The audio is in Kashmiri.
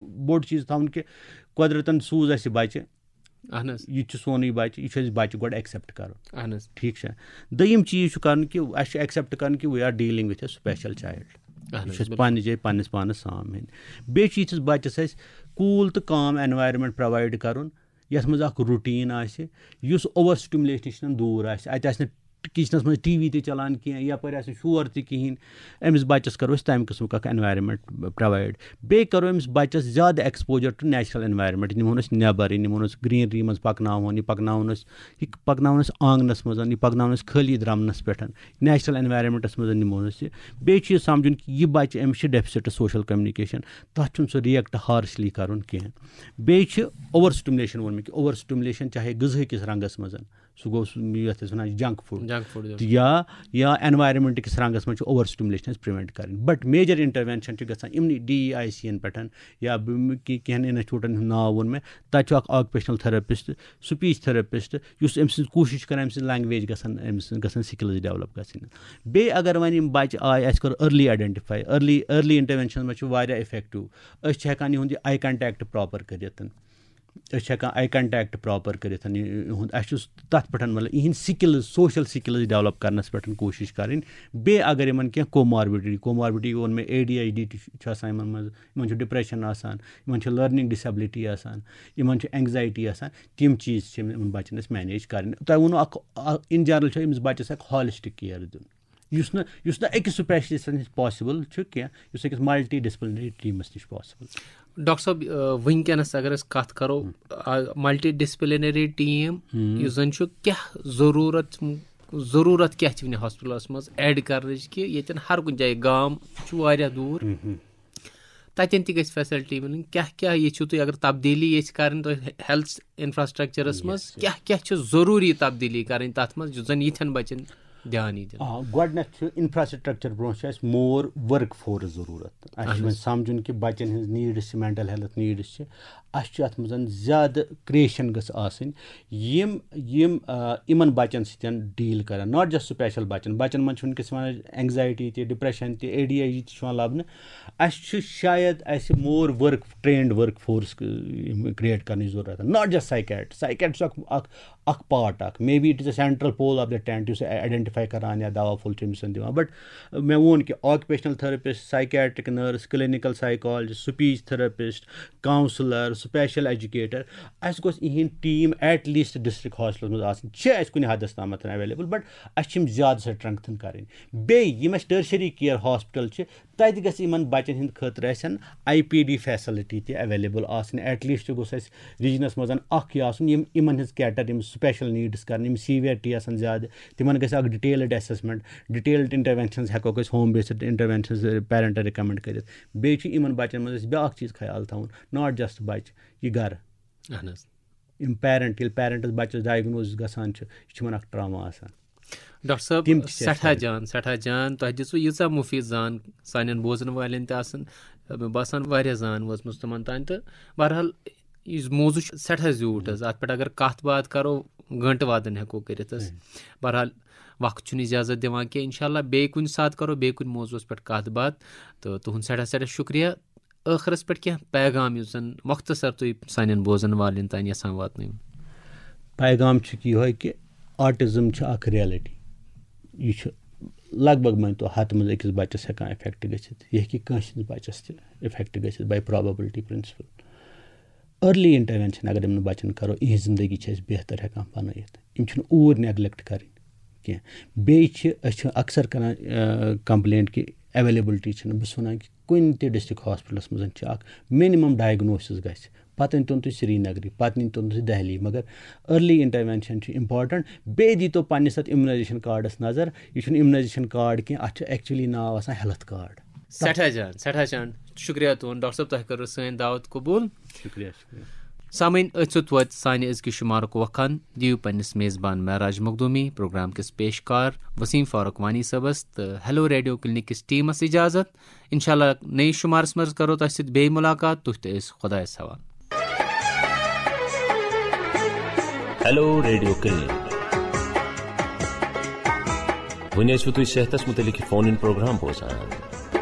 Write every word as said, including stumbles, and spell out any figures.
بوٚڑ چیٖز تھاوُن کہِ قۄدرَتَن سوٗز اَسہِ بَچہِ، اہن حظ۔ یہِ تہِ چھُ سونُے بَچہِ، یہِ چھُ اَسہِ بَچہِ گۄڈٕ ایکسیپٹ کَرُن۔ اہن حظ۔ ٹھیٖک چھا؟ دوٚیِم چیٖز چھُ کَرُن کہِ اَسہِ چھُ ایکسیپٹ کَرُن کہِ we are dealing with a special child۔ اہن یہِ حظ، چھُ اَسہِ پنٛنہِ جایہِ پنٛنِس پانَس سام ہیٚنۍ۔ بیٚیہِ چھُ یِتھِس بَچَس اَسہِ کوٗل تہٕ کام اینوایرنمنٹ پرووایڈ کَرُن، یَتھ منٛز اَکھ روٹیٖن آسہِ، یُس اوور سٹیمولیشن نِش دوٗر آسہِ۔ اَتہِ آسہِ نہٕ کچنَس منٛز ٹی وی تہِ چلان کینٛہہ، یَپٲرۍ آسہِ نہٕ شور تہِ کِہیٖنۍ۔ أمِس بَچَس کَرو أسۍ تَمہِ قٕسمُک اَکھ اینوایرنمنٹ پرووایڈ۔ بیٚیہِ کَرو أمِس بَچَس زیادٕ ایکسپوجر ٹو نیچرل اینوایرنمنٹ۔ نِمون أسۍ نٮ۪بر، یہِ نِمون أسۍ گرینری منٛز پَکناوون، یہِ پَکناوون أسۍ، یہِ پَکناوون أسۍ آنٛگنَس منٛز، یہِ پَکناوون أسۍ خٲلی درٛمنَس پٮ۪ٹھ، نیچرل اینوایرنمنٹَس منٛز نِمون أسۍ یہِ۔ بیٚیہِ چھُ یہِ سَمجھُن کہِ یہِ بَچہِ، أمِس چھِ ڈیفسٹ سوشل کمیونیکیشن، تَتھ چھُنہٕ سُہ ریئیکٹ ہارشلی کَرُن کینٛہہ۔ بیٚیہِ چھِ اوور سٹیمولیشن ووٚن مےٚ کہِ اوور سٹیمولیشن چاہے غذہہٕ کِس رنٛگَس منٛز، سُہ گوٚو سُہ یَتھ أسۍ وَنان چھِ جنک فوڈ، جنک فوڈ تہٕ یا یا اینوایرنمنٹ کِس رنٛگَس منٛز چھِ اوور سٹیمولیشن اَسہِ پرٛوینٹ کَرٕنۍ۔ بٹ میجر انٹروینشن چھِ گژھان یِمنٕے ڈی ای آی سی یَن پٮ۪ٹھ، یا بہٕ کہِ کینٛہَن انسٹیٹیوٗٹَن ہُنٛد ناو ووٚن مےٚ، تَتہِ چھُ اَکھ آکوپیشنل تھراپسٹ، سپیچ تھراپسٹ، یُس أمۍ سٕنٛز کوٗشِش چھِ کَران أمۍ سٕنٛز لینگویج گژھن، أمۍ سٕنٛز گژھن سکلز ڈیولپ گژھٕنۍ۔ بیٚیہِ اگر وۄنۍ یِم بَچہِ آے، اَسہِ کوٚر ارلی آیڈینٹیفائی، ارلی ارلی انٹروینشن منٛز چھِ واریاہ افیکٹو۔ أسۍ چھِ ہٮ۪کان یِہُنٛد یہِ آی کنٹیکٹ پراپر کٔرِتھ، أسۍ چھِ ہٮ۪کان آی کنٹیکٹ پراپر کٔرِتھ، یہِ- یِہُنٛد اَسہِ چھُ تَتھ پٮ۪ٹھ، مطلب، یِہِنٛدۍ سکلز، سوشل سکلز ڈیولپ کرنَس پٮ۪ٹھ کوٗشِش کَرٕنۍ۔ بیٚیہِ اگر یِمن کینٛہہ کوماربڈی، کوماربڈی ووٚن مےٚ، اے ڈی ایچ ڈی تہِ چھُ آسان یِمن منٛز، یِمن چھُ ڈپریشن آسان، یِمن چھُ لرننگ ڈسیبلٹی آسان، یِمن چھُ اینگزائٹی آسان، تِم چیٖز چھِ یِمن بَچن اَسہِ مینیج کَرٕنۍ۔ تۄہہِ ووٚنوُ اکھ، اِن جنرل چھُ أمِس بَچَس اکھ ہالسٹک کِیر دیُن، یُس نہٕ یُس نہٕ أکِس سپیشلسٹس نِش پاسبل چھُ کینٛہہ، یُس أکِس ملٹی ڈسپلنری ٹیمس نِش پاسبل۔ ڈاکٹر صٲب، آ، وٕنکیٚنس اگر أسۍ کتھ کرو، ملٹی ڈسپلنری ٹیٖم، یُس زن چھُ، کیٛاہ ضروٗرت، ضروٗرت کیٛاہ چھِ وٕنہِ ہاسپٹلس منٛز ایڈ کرنٕچ، کہِ ییٚتٮ۪ن ہر کُنہِ جایہِ گام چھُ واریاہ دوٗر، تتٮ۪ن تہِ گژھِ فیسلٹی مِلٕنۍ؟ کیٛاہ کیٛاہ ییٚژھِو تُہۍ، اگر تبدیٖلی ییٚژھِ کرٕنۍ تۄہہِ ہیلتھ انفراسٹرکچرس منٛز، کیٛاہ کیٛاہ چھِ ضروٗری تبدیٖلی کرٕنۍ تتھ منٛز، یُس زن یِتھٮ۪ن بچن دھیان یی دِنہٕ؟ آ، گۄڈٕنیتھ چھُ انفراسٹرکچر برونٛہہ چھُ اَسہِ مور ورک فورس ضروٗرت۔ اَسہِ چھُ وۄنۍ سمجھُن کہِ بچن ہٕنٛز نیڈس چھِ، مینٹل ہیلتھ نیڈس چھِ، اَسہِ چھُ اَتھ منٛز زیادٕ کریشن گٔژھ آسٕنۍ۔ یِم یِم آ، یِمن بچن سۭتۍ ڈیل کرن، ناٹ جسٹ سپیشل بچن، بچن منٛز چھُ وٕنکیٚس یِوان اینگزائٹی تہِ، ڈپریشن تہِ، اے ڈی ایچ ڈی تہِ چھُ یِوان لبنہٕ۔ اَسہِ چھُ شاید اَسہِ more work, trained work force create کرنٕچ ضروٗرت، ناٹ جسٹ سائیکیٹ۔ سائیکیٹ چھُ اکھ اکھ اکھ پارٹ اکھ، maybe it is a central pole of the tent، یُس آیڈینٹیفائی کران یا دوا پھوٚل چھُ أمِس دیوان۔ بٹ مےٚ ووٚن کہِ occupational therapist, psychiatric nurse, clinical psychologist, speech therapist, counsellor, special educator, اَسہِ گوٚژھ یِہِنٛد team at least district hospitals منٛز آسٕنۍ۔ چھِ اَسہِ کُنہِ حدس تامتھ ایویلیبل، بٹ اَسہِ چھِ یِم زیادٕ سٹرینگتھن کرٕنۍ۔ بیٚیہِ یِم اَسہِ ٹرشری کیئر ہاسپٹل چھِ، تَتہِ گژھِ یِمن بَچن ہِنٛدِ خٲطرٕ اَسہِ آی پی ڈی فیسلٹی تہِ ایویلیبل آسٕنۍ۔ ایٹ لیسٹ گوٚژھ اَسہِ ریجنس منٛز اکھ یہِ آسُن، یِم یِمن ہٕنٛز کیٹر، یِم سپیشل نیڈس کران، یِم سیویرٹی آسان زیادٕ، تِمن گژھِ اکھ ڈیٹیلڈ اسسمنٹ، ڈیٹیلڈ انٹروینشنز ہٮ۪کوکھ أسۍ، ہوم بیسڈ انٹروینشنز پیرنٹن ریکمنڈ کٔرِتھ۔ بیٚیہِ چھُ یِمن بَچن منٛز اَسہِ بیاکھ چیٖز خیال تھاوُن، ناٹ جسٹ بَچہٕ، یہِ گرٕ۔ اہن حظ۔ یِم پیرنٹ، ییٚلہِ پیرنٹس بَچَس ڈائگنوز گژھان چھُ، یہِ چھُ یِمن اکھ ٹراما آسان۔ ڈاکٹر صٲب، تِم تہِ چھِ اَسہِ سٮ۪ٹھاہ سٲری۔ جان، سٮ۪ٹھاہ جان۔ تۄہہِ دِژوٕ ییٖژاہ مُفیٖد زان سانٮ۪ن بوزن والٮ۪ن تہِ آسان، مےٚ باسان، واریاہ زان وٲژمٕژ تِمن تام۔ تہٕ بہرحال، یُس موضوع چھُ سٮ۪ٹھاہ زیوٗٹھ حظ، اَتھ پٮ۪ٹھ اگر کَتھ باتھ کَرو، گٲنٹہٕ وادن ہٮ۪کو کٔرِتھ حظ۔ بہرحال، وقت چھُنہٕ اجازت دِوان کینٛہہ۔ انشاءاللہ بیٚیہِ کُنہِ ساتہٕ کَرو بیٚیہِ کُنہِ موضوعس پٮ۪ٹھ کَتھ باتھ۔ تہٕ تُہُنٛد سٮ۪ٹھاہ سٮ۪ٹھاہ شُکریہ۔ ٲخرس پٮ۪ٹھ کینٛہہ پیغام یُس زن مۄختصر تُہۍ سانٮ۪ن بوزن والٮ۪ن تام یژھان واتنٲوِو؟ پیغام چھُ کہِ یِہوٚے کہِ آٹزم چھِ اکھ ریالٹی۔ یہِ چھُ لگ بگ مٲنۍ تو ہتہٕ منٛز أکِس بچس ہٮ۪کان افیکٹ گٔژھِتھ۔ یہِ ہیٚکہِ کٲنٛسہِ ہٕنٛدِس بچس تہِ افیکٹ گٔژھِتھ by probability principle۔ Early intervention اگر یِمن بچن کرو، یِہنٛز زندگی چھِ أسۍ بہتر ہٮ۪کان بنٲیِتھ۔ یِم چھِنہٕ اوٗرۍ نیگلیکٹ کرٕنۍ کینٛہہ۔ بیٚیہِ چھِ، أسۍ چھِ اکثر کران کمپلینٹ کہِ اویلیبلٹی چھِنہٕ۔ بہٕ چھُس ونان کہِ کُنہِ تہِ ڈسٹرکٹ ہاسپٹلس منٛز چھِ اکھ منیمم ڈائگنوسس گژھِ، پتہٕ أنۍتون تُہۍ سرینگرٕے، پتہٕ أنۍتون تُہۍ دہلی، مگر ارلی انٹروینشن چھُ امپورٹنٹ۔ بیٚیہِ دیٖتو پننِس اتھ امیونائزیشن کارڈس نظر، یہِ چھُنہٕ امیونائزیشن کارڈ کینٛہہ، اتھ چھُ ایکچولی ناو آسان ہیلتھ کارڈ۔ سٮ۪ٹھاہ جان، سٮ۪ٹھاہ جان۔ شُکریہ تُہُنٛد، ڈاکٹر صٲب، تۄہہِ کٔروٕ سٲنۍ دعوت قبوٗل۔ شُکریہ، شُکریہ۔ سامعین، أتھۍ سۭتۍ ووت سانہِ أزکہِ شُمارُک وقان۔ دِیِو پننِس میزبان معراج مخدوٗمی، پروگرام کِس پیشکار وسیٖم فاروق وانی صٲبس تہٕ ہیلو ریڈیو کلینک کِس ٹیمس اجازت۔ انشاءاللہ نٔیِس شُمارس منٛز کرو تۄہہِ سۭتۍ بیٚیہِ مُلاقات۔ تُہۍ تہٕ أسۍ خۄدایس حوالہٕ۔ Hello radio clinic. وۄنۍ ٲسِو تُہۍ صحتس مُتعلق یہِ فون اِن پروگرام بوزان۔